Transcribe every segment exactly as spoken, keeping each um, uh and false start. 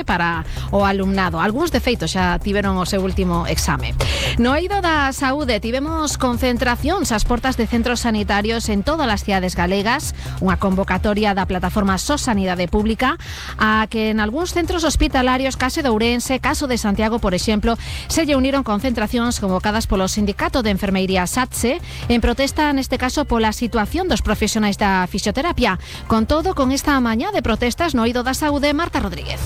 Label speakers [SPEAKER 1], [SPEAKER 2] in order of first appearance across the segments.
[SPEAKER 1] para o alumnado. Algúns de feito xa tiveron o seu último exame. No eido da saúde tivemos concentracións ás portas de centros sanitarios en todas as cidades galegas, unha convocatoria da plataforma S O S Sanidade Pública, a que en algúns centros hospitalarios, caso de Ourense, caso de Santiago, por exemplo, se lle uniron concentracións convocadas polo Sindicato de Enfermería SATSE en protesta, neste caso, pola situación dos profesionais da fisioterapia. Con todo, con esta mañá de protestas no eido da saúde, Marta Rodríguez.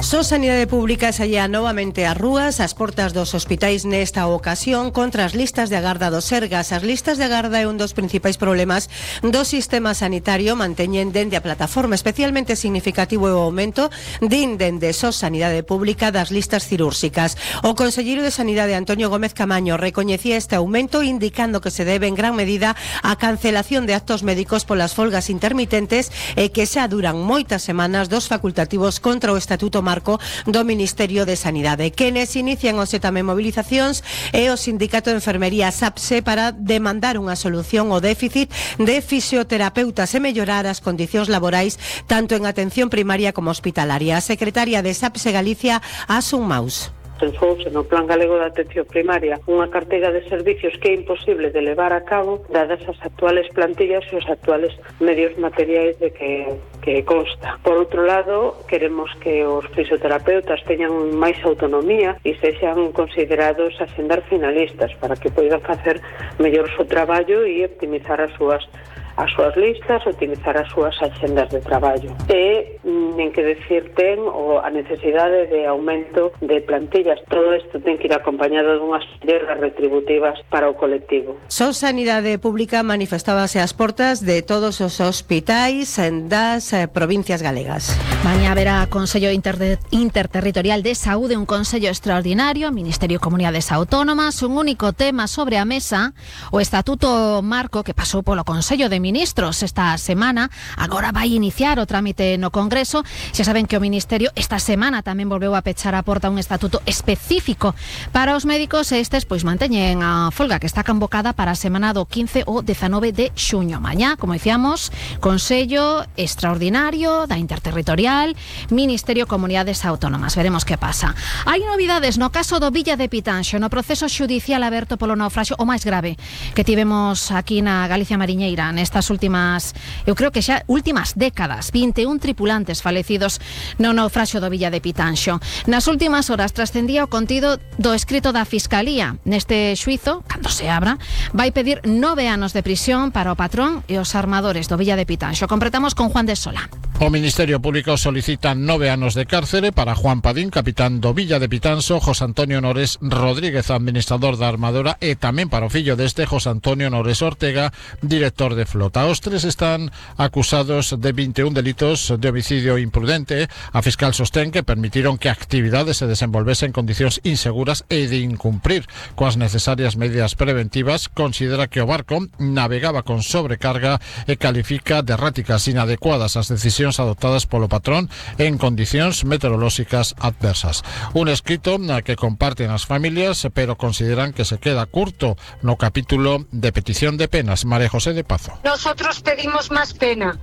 [SPEAKER 2] S O S Sanidade Pública saía novamente ás rúas, ás portas dos hospitais nesta ocasión contra as listas de agarda do Sergas. As listas de agarda é un dos principais problemas do sistema sanitario, manteñen dende a plataforma. Especialmente significativo é o aumento, din dende S O S Sanidade Pública, das listas cirúrxicas. O conselleiro de Sanidade, Antonio Gómez Camaño, recoñecía este aumento, indicando que se debe en gran medida á cancelación de actos médicos polas folgas intermitentes e que xa duran moitas semanas dos facultativos contra o Estatuto Marco do Ministerio de Sanidade. Quenes inician hoxe tamén movilizacións é o Sindicato de Enfermería SAPSE para demandar unha solución ao déficit de fisioterapeutas e mellorar as condicións laborais tanto en atención primaria como hospitalaria. A secretaria de SAPSE Galicia, Asun Maus.
[SPEAKER 3] Pensouse no Plan Galego de Atención Primaria unha carteira de servicios que é imposible de levar a cabo dadas as actuales plantillas e os actuales medios materiais de que, que consta. Por outro lado, queremos que os fisioterapeutas teñan máis autonomía e sexan considerados asendar finalistas para que poidan facer mellor o seu traballo e optimizar as súas as súas listas, utilizar as súas axendas de traballo. E nen que decir ten o a necesidade de aumento de plantillas. Todo isto ten que ir acompañado dunhas melloras retributivas para o colectivo.
[SPEAKER 2] S O S Sanidade Pública manifestábase ás portas de todos os hospitais das eh, provincias galegas.
[SPEAKER 1] Mañá haberá Consello Inter Interterritorial de Saúde, un consello extraordinario, Ministerio de Comunidades Autónomas, un único tema sobre a mesa, o Estatuto Marco que pasou polo Consello de Ministros esta semana, agora vai iniciar o trámite no Congreso. Xa saben que o Ministerio esta semana tamén volveu a pechar a porta un estatuto específico para os médicos e estes pois manteñen a folga que está convocada para a semana do quince ou dezanove de xuño. Mañá, como dicíamos, Consello Extraordinario da Interterritorial, Ministerio Comunidades Autónomas. Veremos que pasa. Hai novidades no caso do Villa de Pitanxo, no proceso xudicial aberto polo naufraxio o máis grave que tivemos aquí na Galicia Mariñeira nesta Estas últimas, eu creo que xa últimas décadas, vinte e un tripulantes falecidos no naufraxio do Villa de Pitanxo. Nas últimas horas trascendía o contido do escrito da Fiscalía. Neste xuizo, cando se abra, vai pedir nove anos de prisión para o patrón e os armadores do Villa de Pitanxo. Completamos con Juan de Sola.
[SPEAKER 4] O Ministerio Público solicita nove anos de cárcere para Juan Padín, capitán do Villa de Pitanxo, José Antonio Nores Rodríguez, administrador da armadora, e tamén para o fillo deste, José Antonio Nores Ortega, director de flota. Os tres están acusados de vinte e un delitos de homicidio imprudente. A fiscal sostén que permitiron que a actividade se desenvolvese en condicións inseguras e de incumprir coas necesarias medidas preventivas. Considera que o barco navegaba con sobrecarga e califica de erráticas inadecuadas as decisións adoptadas polo patrón en condicións meteorolóxicas adversas. Un escrito na que comparten as familias, pero consideran que se queda curto no capítulo de petición de penas. María José de Pazo.
[SPEAKER 5] Nosotros pedimos más pena,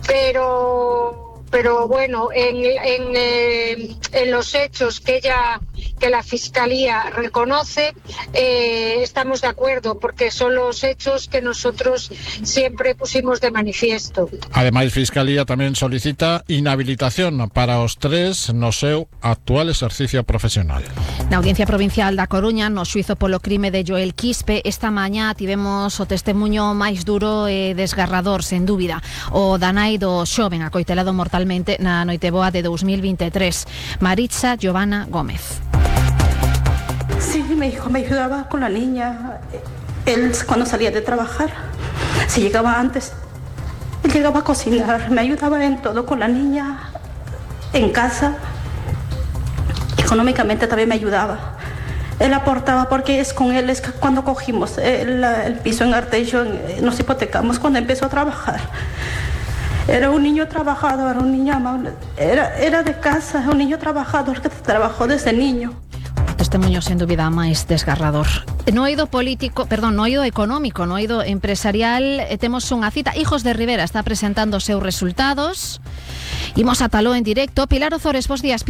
[SPEAKER 5] pero pero bueno, en, en, eh, en los hechos que ella, que la Fiscalía reconoce, eh, estamos de acuerdo, porque son los hechos que nosotros siempre pusimos de manifiesto.
[SPEAKER 4] Ademais, Fiscalía tamén solicita inhabilitación para os tres no seu actual exercicio profesional.
[SPEAKER 1] Na Audiencia Provincial da Coruña, no xuizo polo crime de Joel Quispe, esta mañá tivemos o testemunho máis duro e desgarrador, sen dúbida, o da nai do xoven acoitelado mortalmente na noiteboa de dos mil veintitrés, Maritza Giovanna Gómez.
[SPEAKER 6] Sí, mi hijo me ayudaba con la niña. Él, cuando salía de trabajar, si llegaba antes, él llegaba a cocinar, me ayudaba en todo con la niña, en casa. Económicamente también me ayudaba. Él aportaba porque es con él, es que cuando cogimos el, el piso en Arteixo, nos hipotecamos cuando empezó a trabajar. Era un niño trabajador, un niño amable. Era, era de casa, un niño trabajador que trabajó desde niño.
[SPEAKER 1] Testemunho sen dúbida máis desgarrador. No eido político, perdón, no eido económico, no eido empresarial, eh, temos unha cita. Hijos de Rivera está presentando os seus resultados. Imos a taló en directo. Pilar Ozores, bos días, Pilar.